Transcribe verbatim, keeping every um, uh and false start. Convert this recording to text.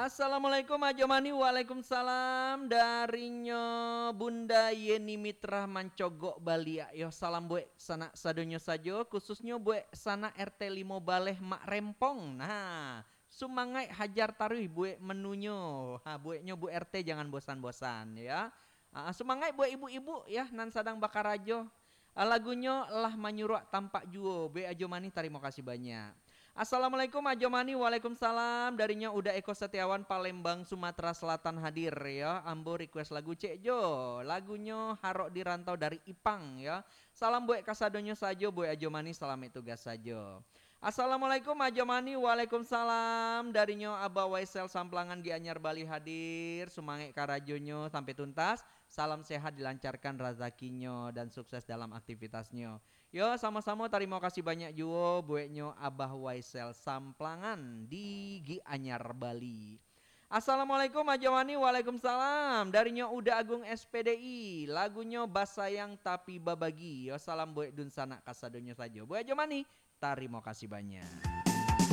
Assalamualaikum Ajo Mani. Waalaikumsalam. Darinyo Bunda Yeni Mitra mancogok baliak yo. Salam buek sanak sadonyo sajo, khususnyo buek sanak R T limo Baleh Mak Rempong. Nah, sumangaik hajar taruih buek menunyo. Ha, bueknyo Bu R T jangan bosan-bosan ya. Ah, sumangaik buek ibu-ibu ya nan sadang bakarajo. Ah, lagunyo lah manyuruak tampak juo. Buek Ajo Mani, tarimo kasih banyak. Assalamualaikum Ajo Mani. Waalaikumsalam. Darinyo Uda Eko Setiawan, Palembang, Sumatera Selatan hadir ya. Ambo request lagu cek jo. Lagunyo Harok di Rantau dari Ipang ya. Salam buek kasadonyo sajo, buek Ajo Mani, salamaik tugas sajo. Assalamualaikum Ajo Mani. Waalaikumsalam. Darinyo Abah Waisel Samplangan Gianyar Bali hadir. Sumangaik karajonyo sampai tuntas. Salam sehat, dilancarkan razakinyo dan sukses dalam aktivitasnyo. Yo, samo-samo, tarimo kasih banyak juo bueknyo Abah Waisel Samplangan di Gianyar Bali. Assalamualaikum Ajo Mani. Waalaikumsalam. Darinyo Uda Agung S P D I. Lagunyo Basayang Tapi Babagi. Yo, salam buek dunsanak kasadonyo sajo. Buek Ajo Mani, tarimo kasih banyak.